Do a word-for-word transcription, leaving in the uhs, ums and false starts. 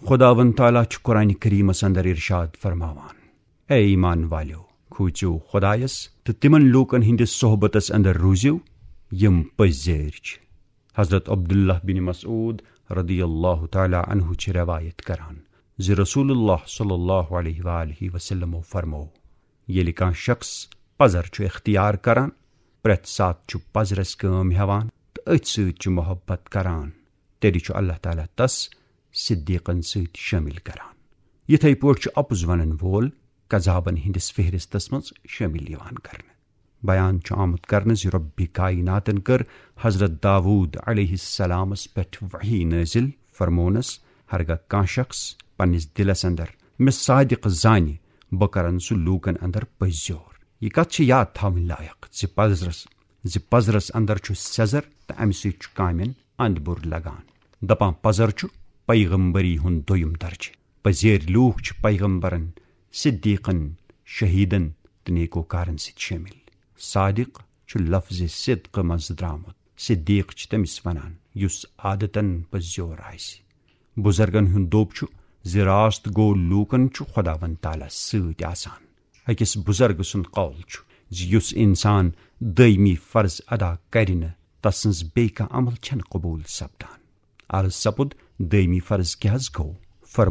خداوند تعالیٰ چھُ قرآن کریمس اندر ارشاد فرماوان، اے ایمان والیو، کھوژِو خدایس تہٕ تِمن لوٗکن ہٕنٛدِس صحبتس اندر روٗزِو، یِم پٔزۍ زٲرۍ چھِ۔ حضرت عبداللہ بن مسعود رضی اللہ تعالیٰ عنہ چھِ روایت کران زِ رسول اللہ صلی اللہ علیہ وآلہ وسلمو فرمو، ییٚلہِ کانٛہہ شخص پزر چھُ اختیار کران، پرٛٮ۪تھ ساتہٕ چھُ پزرس کٲم ہٮ۪وان تہٕ أتھۍ سۭتۍ چھُ محبت کران، تیٚلہِ چھُ اللہ تعالیٰ تس صدیقن سۭتۍ شٲمِل کران۔ یِتھے پٲٹھۍ چھُ اپُز ونن وول کذابن ہٕنٛدِس فہرستس منٛز شٲمِل یِوان کرنہٕ۔ بیان چھُ آمُت کرنہٕ زِ رۄبِ کائناتن کٔر حضرت داوود علیہ السلامس پٮ۪ٹھ وحی نٲزِل، فرمونس، ہرگاہ کانٛہہ شخص پننِس دِلس اندر مےٚ صادق زانہِ، بہٕ کرن سُہ لوٗکن اندر پٔزۍ زیور۔ یہِ کتھ چھِ یاد تھاوٕنۍ لایق زِ پزرس، زِ پزرس اندر چھُ سٮ۪زر تہٕ امہِ سۭتۍ چھُ کامٮ۪ن اند بُر لگان۔ دپان پزر چھُ پیغمبری ہُنٛد دوٚیِم درجہٕ۔ پزیرۍ لوٗکھ چھِ پیغمبرن، صدیقن، شہیدن تہٕ نیکوکارن سۭتۍ شٲمِل۔ صادق چھُ لفظ صدق منٛز درامُت۔ صدیق چھِ تٔمِس ونان یُس عادتن پٔزیور آسہِ۔ بزرگن ہُنٛد دوٚپ چھُ زِ راست گوٚو لوٗکن چھُ خداوند تعالیٰ سۭتۍ آسان۔ أکِس بزرگ سُنٛد قول چھُ زِ یُس انسان دٲیمی فرض ادا کرِ نہٕ، تسٕنٛز بیٚیہِ کانٛہہ عمل چھنہٕ قبول سپدان۔ عرض سپُد، دٲیمی فرض کیٛاہ حض گوٚو؟